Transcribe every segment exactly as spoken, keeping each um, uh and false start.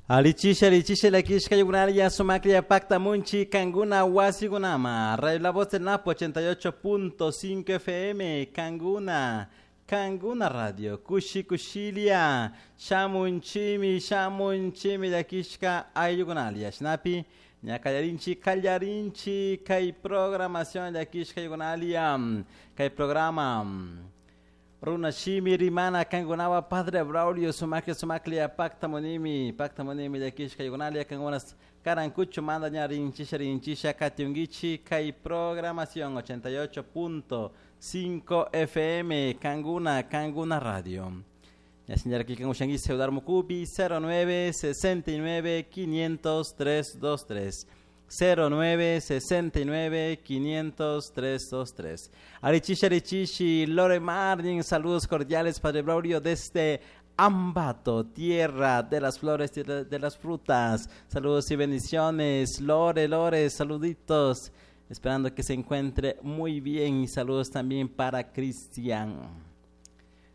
Alichisha, alichisha, lakishka yugunaria, sumaklia, pacta munchi, Canguna, Huasigunama, Radio La Voz del Napo, ochenta y ocho punto cinco F M, Canguna, Canguna Radio, Kushi Kushilia, Shamunchimi, Shamunchimi, lakishka ayugunalia, Shnapi, Ñacallarinchi, Callarinchi, Kai programación, lakishka yugunalia, Kai programa. Runa Shimi Rimana Kangunawa Padre Braulio Sumaklia Sumaklia Pacta Monimi Pacta Monimi Yakishka Yugunalia Kangunas Karancucho Manda Ñarinchisha Rinchisha Katiungichi Kai programación ochenta y ocho punto cinco F M Canguna Canguna Radio. Ya señora que Kangushangui Ceudar Mukubi cero nueve sesenta y nueve quinientos tres dos tres cero nueve sesenta y nueve quinientos tres dos tres. Arichishi, Arichishi, Lore Martin, saludos cordiales, Padre Braulio, desde Ambato, tierra de las flores, tierra de las frutas. Saludos y bendiciones, Lore, Lore, saluditos. Esperando que se encuentre muy bien y saludos también para Cristian.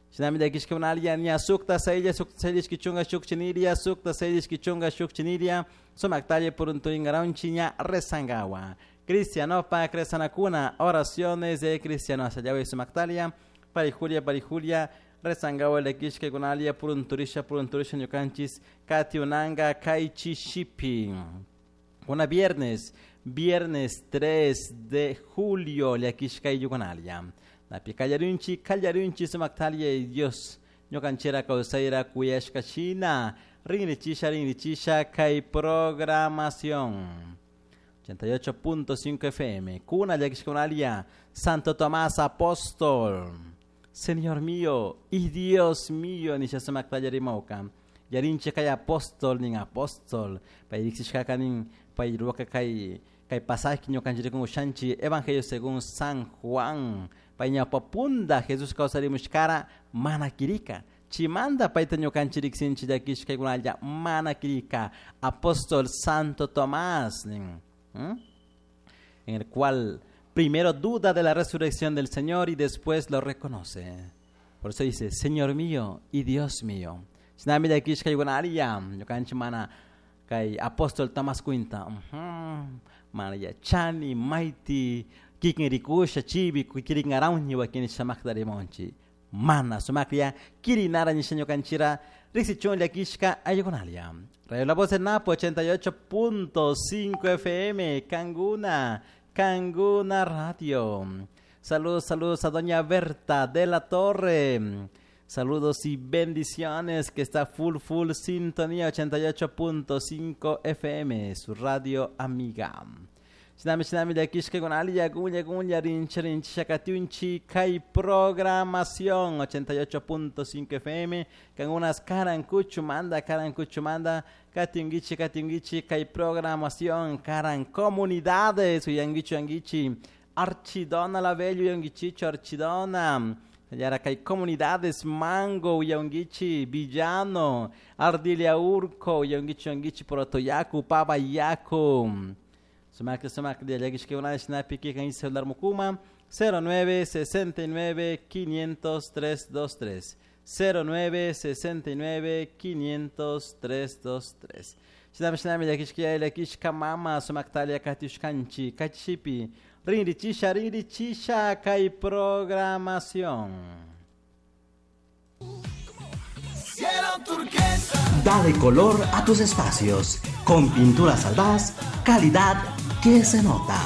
Shinami de Kishkunalia, Nia Sukta, Seilia, Sukta, Seilia, Kichunga, Shukchiniria, Sukta, Seilia, Kichunga, Shukchiniria, Sumaktalia, Purunturingaronchiña, Rezangawa. Cristianopa, Cresanacuna, oraciones de Cristiano, Asayawe, Sumaktalia, Parijulia, Parijulia, Rezangawa, Lekishke, Gunalia, Purunturisha, Purunturisha, Ñukanchis, Katiunanga, Kaichi Shipi. Una viernes, viernes tres de julio, Lekishka y Yugunalia. Napi Callarunchi, Callarunchi, Sumaktalia y Dios, Ñukanchera, Causaira, Cuyashka, China, Rinrichisha, Rinrichisha, Kai programación. ochenta y ocho punto cinco F M, Cuna, Yaxconalia, Santo Tomás Apóstol, Señor mío y Dios mío, Nisha Sumaktalia Rimauka, Yarinche Kai Apóstol, Nin Apóstol, Pairixishka Nin, Pairuaka Kai, Kai pasaje Ñukanchiri con Ushanchi, Evangelio según San Juan, Pañapapunda, Jesús causarimushkara, manakirika. Chimanda paita ñukanchiriksinchi llakishkaykunalla, manakirika. Apóstol Santo Tomás, ¿Mm? en el cual primero duda de la resurrección del Señor y después lo reconoce. Por eso dice, Señor mío y Dios mío. Shinami llakishkaykunalla, ñukanchi mana kay Apóstol Tomás cuenta, uh-huh, mana yachani, maiti, kikin rikusha chibi kiringarawñi wakin shamakdarimonchi mana sumakria kirinara nisha ñukanchira riksichun llakishka ayukunalia. Radio La Voz del Napo ochenta y ocho punto cinco F M Canguna, Canguna Radio. Saludos, saludos a doña Berta de la Torre. Saludos y bendiciones, que está full, full sintonía ochenta y ocho punto cinco F M, su radio amiga. Shinami, shinami, llakishka gunalia, gunya, gunya, rincha, rincha, katiunchi, kai programación ochenta y ocho punto cinco F M, kangunas karankuchu manda, karankuchu manda, katiungichi, katiungichi, kai programación, karan comunidades, uyangichi, uyangichi, archidona la bello, uyangichicho, archidona. Yara kai comunidades, Mango, Uyangichi, Villano, Ardilia Urco, Uyangichi, Uyangichi, Porotoyacu, Pabayacu. Sumak, sumak, de llakishka una snapi que kan celular mukuma cero nueve sesenta y nueve quinientos tres dos tres cero nueve sesenta y nueve quinientos tres dos tres. Shinami, shinami, llakishka llakishka mama sumaktalia katiushkanchi kachipi rinrichisha rinrichisha kai programación. Dale color a tus espacios con Pinturas Aldaz, calidad que se nota.